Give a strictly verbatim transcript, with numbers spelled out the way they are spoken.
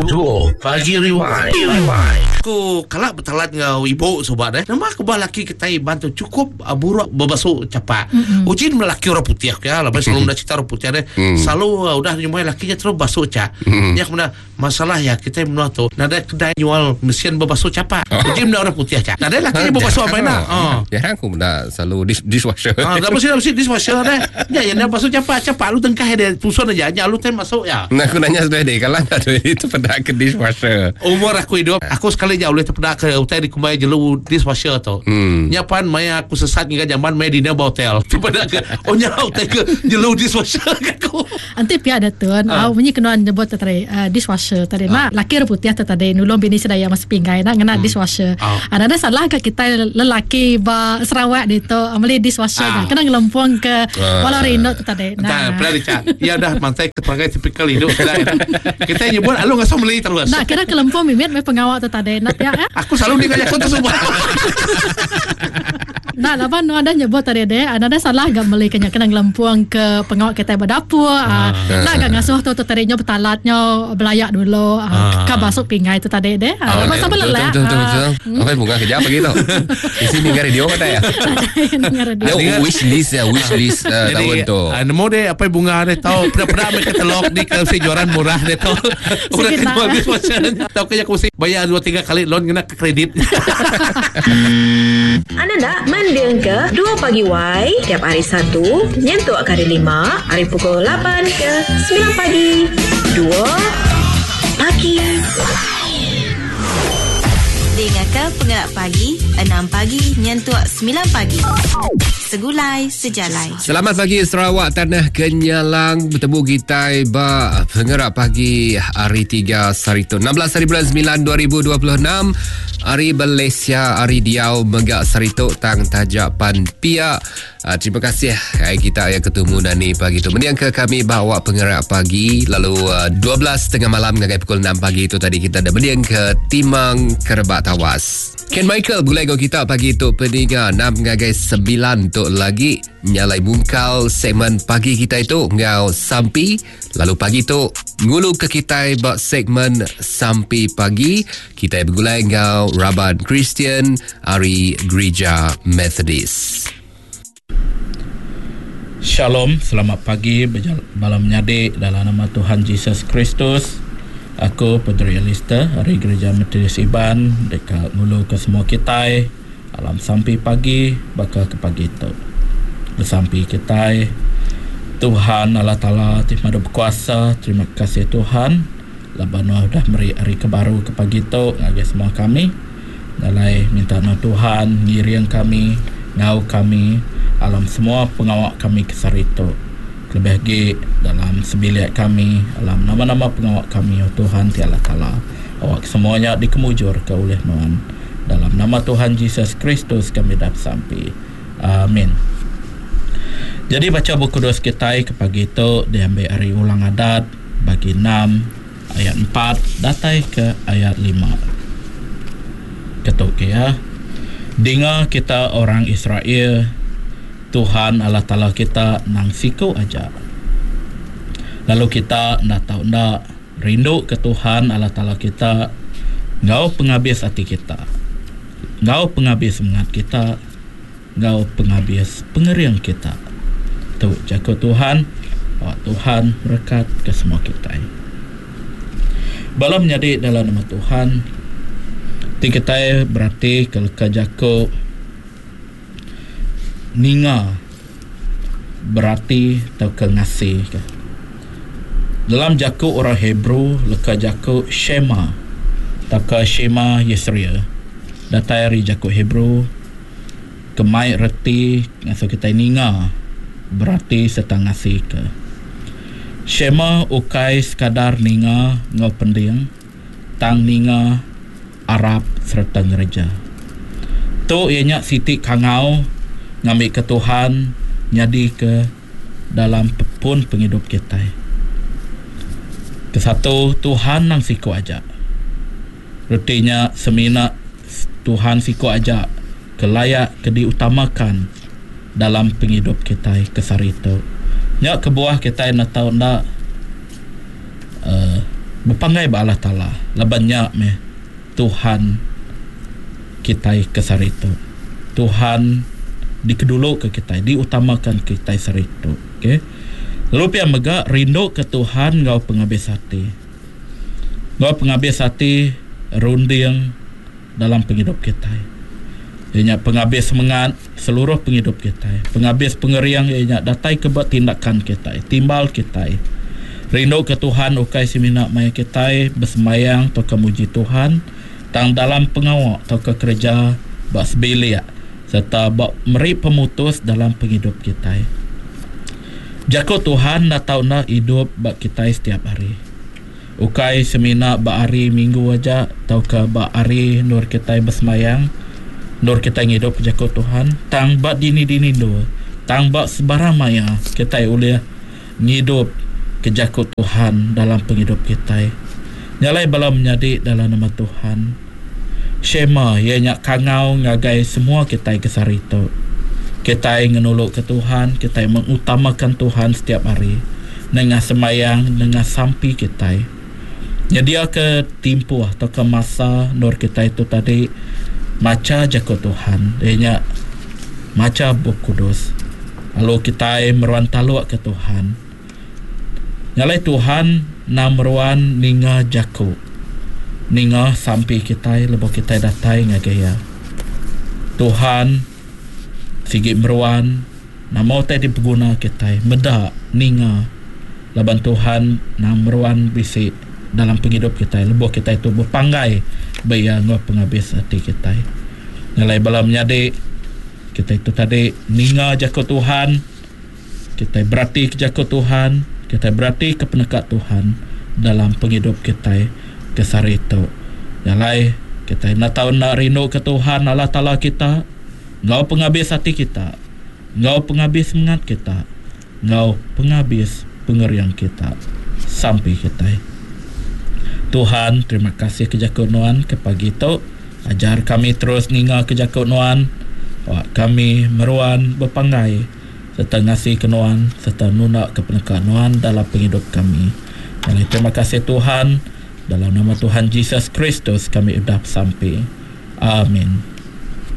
Dua Pagi Rewind. Aku kalak bertalat ngau ibu sobat eh. Nama aku bah laki kita iban tu cukup uh, buruk berbasuh capak. Mm-hmm. Ujin melaki orang putih ya, lepas sebelum dah cerita orang putih deh. Mm. Selalu uh, udah nyumai lakinya terus basuh cak. Mm. Ya kemudian masalah ya kita menua tu nada kedai jual mesin berbasuh capak. Oh. Ujin orang putih cak. Nada lakinya berbasuh apa nak. Oh. Jarang aku benda selalu dish, dishwasher. Ah, dah bersih bersih dishwasher deh. Ya yang basuh capak capak lu tengkah dia pusun aja, nya lu tem masuk ya. Nah aku nanya sudah deh kalau ada itu pada ke dishwasher. Umur aku hidup aku sekali jauh boleh terpedak ke utai di kumbai jelu dishwasher tu. Hmm. Nya pan maya aku sesat hingga zaman maya dinner hotel. Terpedak ke oh nya utai ke jelu dishwasher aku. Anti pia ada tuan, ah bunyi kena nyebut tadi uh, dishwasher tadi uh. Mak laki putih tadi nulung bini sedaya mas pinggai nak ngena uh. dishwasher. Uh. Ada salah ke kita lelaki ba Sarawak di tu ambil dishwasher uh. kena ngelempung ke uh. walau rindu tu tadi. Nah, pernah dicak. Ya dah mantai keperangai tipikal hidup kita. Kita nyebut alu ngasuh beli terus. Nah, kira kelempung mimit me pengawak tu tadi. Nak ya. Aku selalu ni aku tu semua. Nah, laban nu ada nyebut tadi deh, ada salah gak beli kena kena ngelempung ke pengawak kita berdapur. Ah. Nak gak ngasuh tu tu tadi nyo betalatnya belayak dulu. Ah. Ka masuk pinggai tu tadi deh. Ah, oh, sampai lelak. Betul betul betul. Apa bunga kerja apa gitu? Di sini dengar radio kata ya. Dengar radio. Wish list ya, wish list uh, tahun tu. Nemu deh apa bunga deh tahu pernah-pernah ambil katalog di K F C jualan murah deh tahu. Udah kena habis macam. Tahu kaya aku bayar dua tiga kali loan kena ke kredit. Anda nak mending ke dua pagi Y tiap hari Satu nyentuk hari Lima hari pukul lapan ke sembilan pagi. Dua pagi. Dengarkan Pengerak Pagi enam pagi nyentuk sembilan pagi. Segulai sejalai. Selamat pagi Sarawak Tanah Kenyalang. Bertemu kita ba Pengerak Pagi hari tiga Sarito enam belas hari bulan sembilan dua ribu dua puluh enam. Hari Malaysia, hari Diau Megak Sarito tang tajak pan pia. Uh, terima kasih hai kita yang ketemu Nani pagi tu. Mendiang ke kami bawa Pengerak Pagi lalu uh, dua belas tiga puluh malam ngagai pukul enam pagi itu tadi kita ada mendiang ke Timang Kerebak Tawas. Ken Michael gulai go kita pagi tu peninga enam ngagai sembilan tu lagi nyalai bungkal segmen pagi kita itu ngau sampi lalu pagi tu ngulu ke kita bak segmen sampi pagi kita bergulai ngau Raban Kristian ari Gereja Methodist. Shalom, selamat pagi bala menyadi dalam nama Tuhan Jesus Kristus. Aku Padri Alister ari Gereja Methodist Iban dekat ngulu ke semua kita alam sampi pagi bakal ke pagi tu. Bersampi kita Tuhan Allah Taala ti madu berkuasa, terima kasih Tuhan laban nuah dah meri hari ke baru ke pagi tu ngagai semua kami. Dalai minta no Tuhan ngiring kami, ngau kami alam semua pengawak kami ke saritu. Lebih lagi dalam sebilik kami, alam nama-nama pengawak kami, oh Tuhan ti Allah Taala. Awak semuanya dikemujur ke oleh Nuan. Dalam nama Tuhan Jesus Kristus kami dah sampai. Amin. Jadi baca buku kudus kita ke pagi itu diambil hari Ulang Adat bagi enam ayat empat datai ke ayat lima. Ketuk ya. Dengar kita orang Israel, Tuhan Allah Taala kita nang siku aja. Lalu kita ndak tahu ndak rindu ke Tuhan Allah Taala kita ngau penghabis hati kita, ngau penghabis semangat kita, ngau penghabis pengering kita. Tu jaga Tuhan, awak Tuhan berkat ke semua kita. Bala menyadi dalam nama Tuhan, ti kita berarti kalau ke jako ninga berarti atau ke ngasih ke. Dalam jaku orang Hebrew leka jaku Shema atau ke Shema Yisrael datai dari jaku Hebrew kemai reti ngasuh kita ninga berarti serta ngasih ke. Shema ukai sekadar ninga ngau pending tang ninga Arab serta ngereja. Tu ianya siti kangau ngambil ke Tuhan nyadi ke dalam pun penghidup kita. Kesatu Tuhan nang siku aja. Retinya semina Tuhan siku aja kelayak ke diutamakan dalam penghidup kita kesari itu. Nyak kebuah kita nak tahu ndak uh, Bepanggai ba Allah Taala laban nya meh Tuhan kita ke saritu. Tuhan dikedulu ke kita, diutamakan kita saritu. Okey. Lalu pia mega rindu ke Tuhan ngau penghabis hati. Ngau penghabis hati runding dalam penghidup kita. Ianya penghabis semangat seluruh penghidup kita. Penghabis pengeriang ianya datai ke buat tindakan kita, timbal kita. Rindu ke Tuhan ukai semina maya kita bersemayang atau ke muji Tuhan, tang dalam pengawak atau ke kerja bak sebilik serta bak meri pemutus dalam penghidup kita. Jaku Tuhan dah tau nak hidup bak kita setiap hari. Ukai semina bak hari minggu aja atau ke bak hari nur kita bersemayang, nur kita ngidup jaku Tuhan, tang bak dini-dini dua, tang bak sebarang maya kita boleh ngidup ke jaku Tuhan dalam penghidup kita. Nyalai bala menyadi dalam nama Tuhan. Shema ianya kangau ngagai semua kita ke saritu. Kita ngenuluk ke Tuhan, kita mengutamakan Tuhan setiap hari. Nengah semayang, nengah sampi kita. Nyedia ke timpuh atau ke masa nur kita itu tadi maca jaku Tuhan. Ianya maca buku kudus. Lalu kita meruan taluk ke Tuhan. Nyalai Tuhan namruan ninga jaku. Ninga sampi kita lebuh kita datai ngagai ya. Tuhan sigi meruan nama utai dipeguna kita meda ninga laban Tuhan namruan bisi dalam penghidup kita lebuh kita itu berpanggai baya ngau penghabis hati kita. Nyalai bala menyadi kita itu tadi ninga jaku Tuhan, kita berarti ke jaku Tuhan, kita berarti ke penekat Tuhan dalam penghidup kita ke sehari itu. Nyalai kita nak tahu nak rindu ke Tuhan Allah Taala kita, ngau penghabis hati kita, ngau penghabis semangat kita, ngau penghabis pengeriang kita sampai kita. Tuhan, terima kasih ke jaku nuan ke pagi tu. Ajar kami terus ninga ke jaku nuan. Wak kami meruan berpanggai serta ngasih ke nuan serta nuna ke penekat nuan dalam penghidup kami. Dan terima kasih Tuhan, dalam nama Tuhan Jesus Kristus kami udah sampai. Amin.